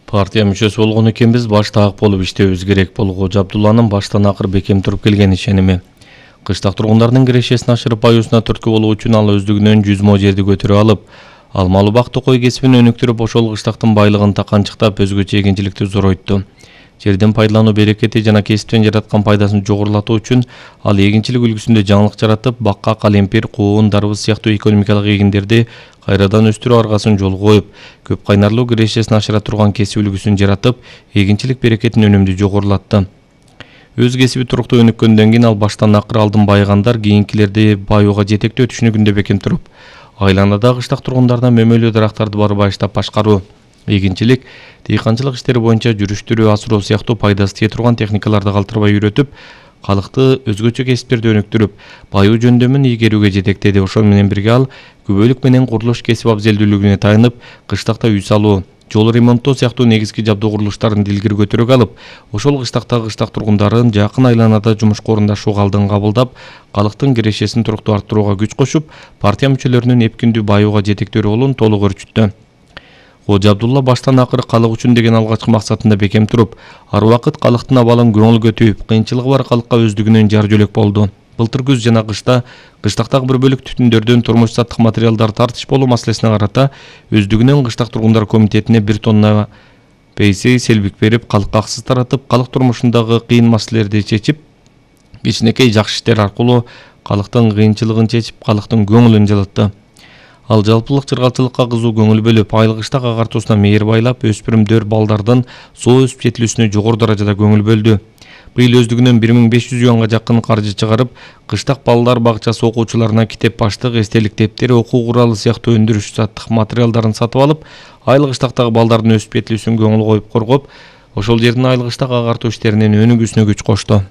Партия мүчөсү болгон экенбиз, баштаак болуп иштебибиз керек. Бул Кожо Абдулланын баштан акыр бекем туруп келген ишеними. Кыштак тургундардын кирешесин ашырып аюусуна түрткү болуу үчүн ал өздүгүнөн 100 мо жерди көтөрүп алып, алмалуу бакты кой кесибин өнүктүрүп, ошол кыштактын байлыгын таканчыктап, өзгөчө эгинчиликти зоройтtu. Жердин пайдалануу берекети жана кесиптен жараткан пайдасын жогорулатуу үчүн ал эгинчилик үлгүсүндө жаңылык жаратып, бакка, калемпир, куун, дарбыз сыяктуу экономикалык эгиндерди кайрадан өстүрүү аргасын жолго коюп, көп кайнарлуу кирешесин ашыра турган кесип үлгүсүн жаратып, эгинчилик берекетин өнүмдүү жогорулатты. Өз кесиби туруктуу өнүккөндөн кийин ал баштан акыр алдын байыгандар кийинкилерди байууга жетектөө түшүнүгүндө бекем туруп, айланада кыштак тургундарына мөмөлүү дарактарды барбайыштап башкаруу, эгинчилик, дыйканчылык иштери боюнча жүрүштүрүү, асыроо сыяктуу пайдасы тие турган техникаларды калтырбай үйрөтүп, калкты өзгөчө кесиптерди өнүктүрүп, байуу жөндөмүн ийгерүүгө жетектеди. Ошол менен бирге ал күбөлүк менен курулуш кесип абзелдүүлүгүнө таянып, кыштакта үй салуу, жол ремонттоо сыяктуу негизги жабдуу курулуштарын илгери көтөрүүгө алып, ошол кыштактагы кыштак тургундарын жакын айланада жумушка орундашууга алдын кабылдап, калктын кирешесин туруктуу арттырууга күч кошуп, партия мүчөлөрүнүн эпкиндүү байууга жетектөө ролун толук өрчүттү. Кожо Абдулла баштан акыр калк үчүн деген алгачкы максатында бекем туруп, ар убакыт калктын абалын көңүлгө түйүп, кыйынчылыгы бар калкка өздүгүнөн жар жөлөк болду. Былтыр күз жана кышта кыштактагы бир бөлүк түтүндөрдөн турмуш саттык материалдар тартыш болуу маселесине карата өздүгүнөн кыштак тургундар комитетине 1 тонна пейсей селбик берип, калкка аксыз таратып, калк турмушундагы кыйын маселелерди чечип, кичинекей жакшы иштер аркылуу калктын кыйынчылыгын чечип, калктын көңүлүн жылытты. Ал жалпылык чыргалчылыкка кызуу көңүл бөлүп, айыл кыштак агартуусуна мээри байлап, өспүрүмдөр балдардын соо өсүп жетилүүсүнө жогору даражада көңүл бөлдү. Быйыл өздүгүнөн 1500 юанга жакын каржы чыгарып, кыштак балдар бакчасы окуучуларына китеп баштык, эстелик дептери, окуу куралы сыяктуу өндүрүш саттык материалдарын сатып алып, айыл кыштактагы балдардын өсүп жетилүүсүн көңүл коюп коргоп, ошол жердин айыл кыштак агартуу иштеринин өнүгүүсүнө күч кошту.